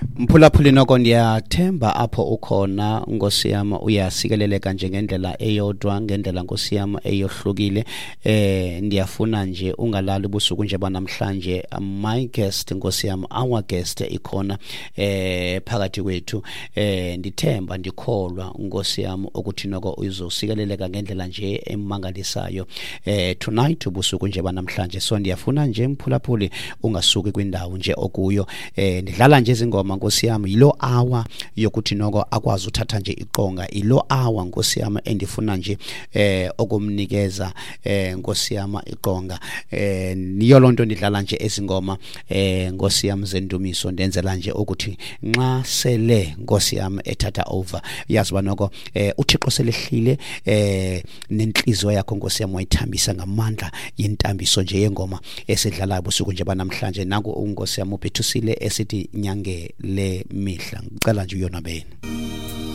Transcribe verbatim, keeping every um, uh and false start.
Mphulaphuli, noko ndiyathemba apho ukhona, Nkosi yam, uyasikeleleka nje ngendlela eyodwa, ngendlela, Nkosi yam, eyohlukile. eh ndiyafuna nje ungalali ubusuku nje banamhlanje. My guest, Nkosi yam, our guest ikhona eh phakathi kwethu. eh ndithemba ndikholwa, Nkosi yam, ukuthi noko uzosikeleleka ngendlela nje emangalisayo eh tonight, ubusuku nje banamhlanje. So ndiyafuna nje, mphulaphuli, ungasuki kwindawo nje okuyo. eh ndidlala nje izingoma, Nkosi yami, yilo hour yokuthi noko akwazi uthatha nje iqonga, yilo hour, Nkosi yami, endifuna nje eh okumnikeza eh Nkosi yami iqonga. eh niyo lonto ndidlala nje ezingoma eh Nkosi yami zendumiso, ndenzela nje ukuthi nxa sele, Nkosi yami, ethatha over, yazi ba noko eh uThixo selehlile eh nenhliziyo yakho, Nkosi yami, wayithambisa ngamandla yentambiso nje yengoma esidlalayo busuku nje banamhlanje. Nanku uNkosi yami uBhethusile esithi nyange le mihla. Ngicela nje uyonwabeni.